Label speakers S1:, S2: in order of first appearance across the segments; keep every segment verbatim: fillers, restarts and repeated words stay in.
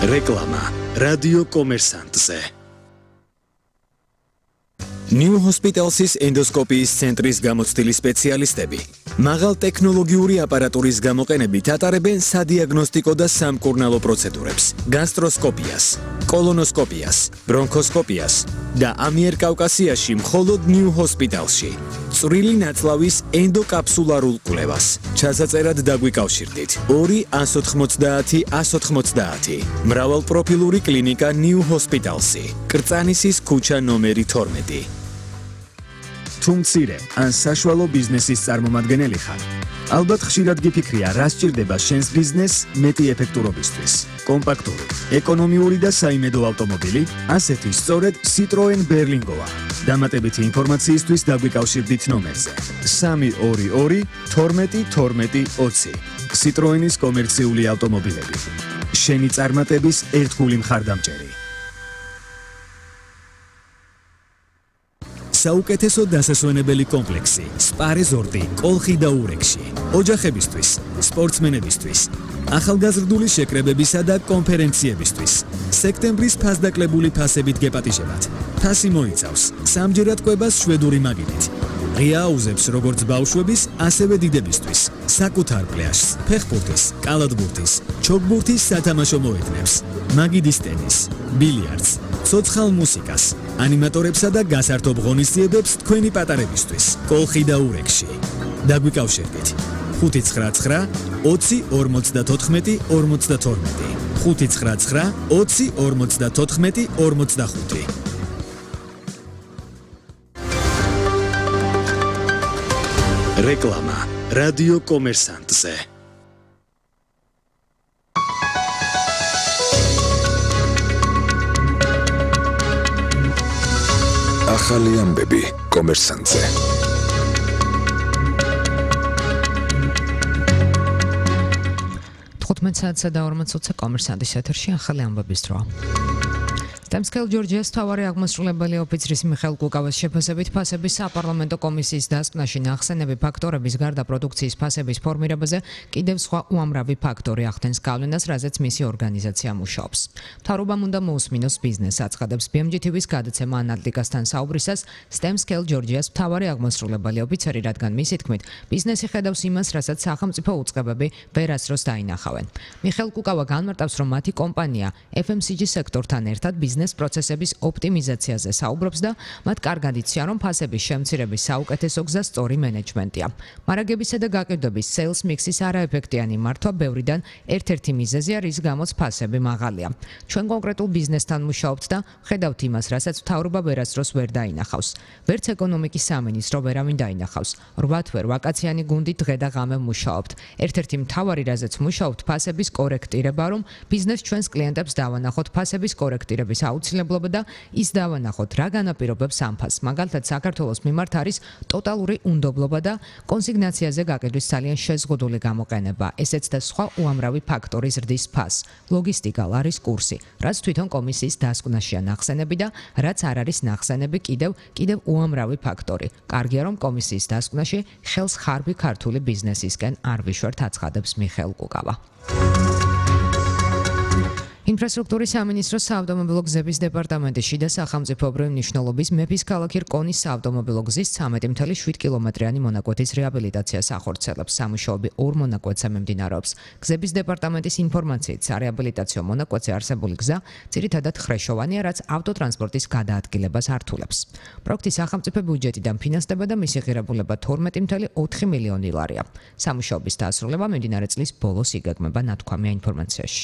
S1: რეკლამა რადიო კომერსანტზე. New Hospitals's ენდოსკოპიის ცენტრის გამოცდილი სპეციალისტები მაღალ ტექნოლოგიური აპარატურის გამოყენებით ატარებენ სადიაგნოსტიკო და სამკურნალო პროცედურებს, გასტროსკოპიას, კოლონოსკოპიას, ბრონქოსკოპიას და ამიერკავკასიაში მხოლოდ New Hospitalsში. წვრილი ნაწლავის ენდოკაფსულარულ კვლევას. ჩასაწერად დაგვიკავშირდით ორი ას ოთხმოცდაათი ას ოთხმოცდაათი. მრავალპროფილური კლინიკა New Hospitalsი. კრწანისის ქუჩა ნომერი თორმეტი. თუ მცირე ან საშუალო ბიზნესის წარმომადგენელი ხარ, ალბათ ხშირად გიფიქრია, რა სჭირდება შენს ბიზნესს მეტი ეფექტურობისთვის. კომპაქტური, ეკონომიური და საიმედო ავტომობილი, ასეთი სწორედ Citroen Berlingoა. დამატებითი ინფორმაციისთვის დაგვიკავშირდით ნომერზე სამი ორი ორი თორმეტი თორმეტი ოცი. Citroenis კომერციული ავტომობილები. შენი წარმატების ერთგული მხარდამჭერი. საუკეთესო დასასვენებელი კომპლექსი, სპა რეზორტი, კოლხი და ურეკში. ოჯახებისთვის, სპორტსმენებისთვის, ახალგაზრდული შეკრებებისა და კონფერენციებისთვის. სექტემბრის ფასდაკლებული ფასებით გეპატიჟებათ. ფასი მოიცავს სამჯერად კვებას შვედური მაგიდით. ღია აუზებს როგორც ბავშვების, ასევე დიდებისთვის. საკუთარ პლაჟს, ფეხბურთის, კალათბურთის, ჩოგბურთის სათამაშო მოედნებს, მაგიდის ტენის, ბილიარდს, ცოცხალ მუსიკას, ანიმატორებსა და გასართობ ღონისძიებებს თქვენი პატარებისთვის. კოლხი და ურეკში. დაგვიკავშირდით ხუთი ცხრა ცხრა ოცი ორმოცდათოთხმეტი ორმოცდათორმეტი ხუთი ცხრა ცხრა ოცი ორმოცდათოთხმეტი ორმოცდახუთი. რეკლამა რადიო კომერსანტზე. ახალი ამბები კომერსანტზე.
S2: თხუთმეტ საათსა და ორმოც ოცი კომერსანტის ეთერში ახალი ამბების დრო. STEM-Scale Georgia's მთავარი აღმასრულებელი ოფიცრის მიხეილ კუკავას შეფასებით ფასების საპარლამენტო კომისიის დასკვნაში ნახსენები ფაქტორების გარდა პროდუქციის ფასების ფორმირებაზე კიდევ სხვა უამრავი ფაქტორი ახდენს გავლენას, რაზეც მისი ორგანიზაცია მუშაობს. მთავრობამ უნდა მოусმინოს ბიზნესს, აცხადებს B M G T V-ს გადაცემა ანალიტიკასთან საუბრისას STEM-Scale Georgia's მთავარი აღმასრულებელი ოფიცერი, რადგან მისი თქმით, ბიზნესი ხედავს იმას, რასაც სახელმწიფო უწყებები ვერასდროს დაინახავენ. მიხეილ კუკავა განმარტავს, რომ მათი კომპანია F M C G სექტორთან ერთად ბიზნეს პროცესების ოპტიმიზაციაზე საუბრობს და მათ კარგად იციან, რომ ფასების შემცირების საუკეთესო გზა სწორი მენეჯმენტია. მარაგებისა და გაყიდვების sales mix-ის არაეფექტიანი მართვა ბევრიდან ერთ-ერთი მიზეზია, რის გამოც ფასები მაღალია. ჩვენ კონკრეტულ ბიზნესთან მუშაობთ და ხედავთ იმას, რასაც მთავრობა ვერასდროს ვერ დაინახავს. ვერც ეკონომიკის სამინისტრო ვერავინ დაინახავს. რვა თვე ვაკაციანი გუნდი დღე და ღამე მუშაობთ. ერთ-ერთი მთავარი, რაზეც მუშაობთ, ფასების კორექტირება, რომ ბიზნეს ჩვენს კლიენტებს დავანახოთ ფასების კორექტირების აუცილებლობა და ის დავანახოთ, რა განაპირობებს ამ ფასს. მაგალითად, საქართველოს მიმართ არის ტოტალური უნდობლობა და კონსიგნაციაზე გაყიდვის ძალიან შეზღუდული გამოყენება. ესეც და სხვა უამრავი ფაქტორი ზრდის ფასს. ლოგისტიკა, არის კურსი, რაც თვითონ კომისიის დასკვნაშია ნახსენები და რაც არ არის ნახსენები კიდევ კიდევ უამრავი ფაქტორი. კარგია, რომ კომისიის დასკვნაში ხელს ხარბი ქართული ბიზნესისკენ არ ვიშვერთ, აცხადებს მიხეილ კუკავა. ინფრასტრუქტურის სამინისტროს საავტომობილო გზების დეპარტამენტის შიდა სახელმწიფოებრივი მნიშვნელობის მეფის ქალაქი რკონის საავტომობილო გზის ცამეტი ათეული შვიდ კილომეტრიანი მონაკვეთის რეაბილიტაციას ახორციელებს. სამუშაოები ორ მონაკვეთზე მიმდინარეობს. გზების დეპარტამენტის ინფორმაციით, სარეაბილიტაციო მონაკვეთზე არსებული გზა ძირითადად ხრეშოვანია, რაც ავტოტრანსპორტის გადაადგილებას ართულებს. პროექტი სახელმწიფო ბიუჯეტიდან ფინანსდება და მისი ღირებულება თორმეტი ათეული ოთხი მილიონი ლარია. სამუშაოების დასრულება მიმდინარე წლის ბოლოს იგეგმება, ნათქვამია ინფორმაციაში.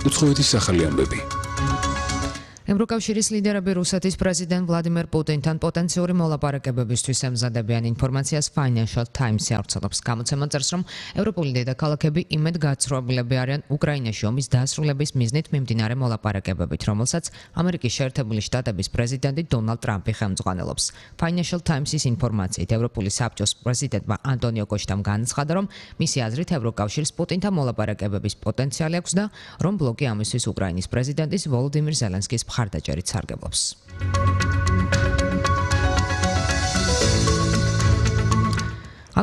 S3: უცხოეთის ახალი ამბები.
S2: ევროკავშირის ლიდერები რუსეთის პრეზიდენტ ვლადიმერ პუტინთან პოტენციური მოლაპარაკებებისთვის ემზადებიან ინფორმაციას Financial Times-ი ავრცელებს. გამოცემა წერს, რომ ევროპული დედაქალაქები იმედ გაცრუებულები არიან უკრაინაში ომის დასრულების მიზნით მიმდინარე მოლაპარაკებებით, რომელსაც ამერიკის შეერთებული შტატების პრეზიდენტი დონალდ ტრამპი ხელმძღვანელობს. Financial Times-ის ინფორმაციით, ევროპული საბჭოს პრეზიდენტმა ანტონიო კოშტამ განაცხადა, რომ მისი აზრით ევროკავშირს პუტინთან მოლაპარაკებების პოტენციალი აქვს და რომ ბლოკი ამისთვის უკრაინის პრეზიდენტის ვოლოდიმირ ზელენსკის მხარდაჭერით სარგებლობს.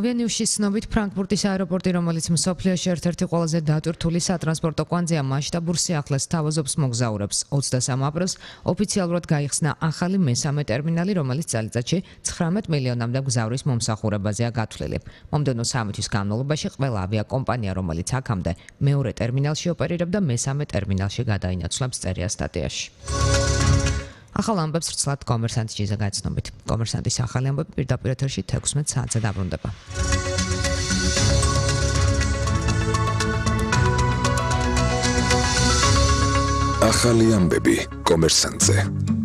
S2: ავიანიუსის ცნობით ფრანკფურტის აეროპორტი, რომელიც მსოფლიოში ერთ-ერთი ყველაზე დატვირთული სატრანსპორტო კვანძია, მასშტაბურ სიახლეს თავაზობს მოგზაურებს. ოცდასამ აპრილს ოფიციალურად გაიხსნა ახალი მესამე ტერმინალი, რომელიც წელიწადში ცხრამეტ მილიონამდე მგზავრის მომსახურებაზეა გათვლილი. მომდევნო სამი თვის განმავლობაში ყველა ავიაკომპანია, რომელიც აქამდე მეორე ტერმინალში ოპერირებდა, მესამე ტერმინალში გადაინაცვლებს, წერია სტატიაში. ახალ ამბებს რცლად კომერსანტის ჯიზა გაცნობით. კომერსანტის ახალი ამბები პირდაპირ ეთერში თექვსმეტ საათზე დაბრუნდება.
S3: ახალი ამბები კომერსანტზე.